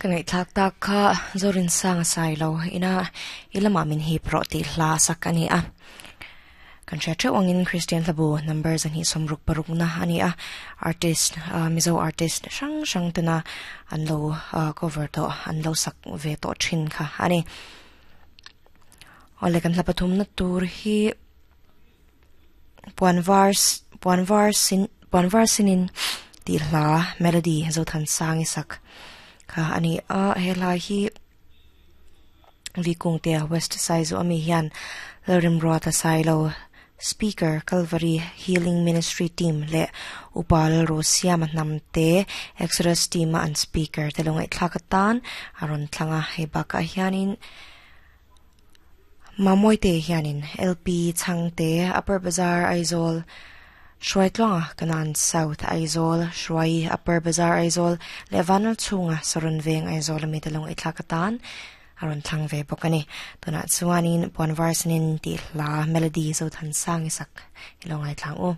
Ka ngaihthlak tak kha Zorinsanga Sailo ina i lamah min hip rawh tih hla sak a ni a. Kan hria theuh angin Kristian hlabu number 266 na a ni a, artist Mizo artist hrang hrang tena an lo cover tawh an lo sak ve tawh thin kha a ni. Awle kan hla pathumna tur hi puan var puan var sin puan var sinin tih hla melody Zothansangi sak kha a ni a, he hla hi Vikungtea West Saizu ami hian Lalrimruata Sailo Speaker Calvary Healing Ministry Team leh Upa Lalrosiama Hnamte Exodus Team a an speaker te lo ngaihthlak atan a rawn thlang a, hei bakah hianin Mamawite hianin LP Chhangte Upper Bazar Aizawl Hruaitluanga Kanan South Aizawl Hruai Upper Bazar Aizawl leh Vanral chhunga Saron Veng Aizawl ami te lo ngaihthlak atan a rawn thlang ve bawk a ni. Tunah chuanin Puanvar Sinin tih hla melody Zothansang i sak i lo ngaithlang u.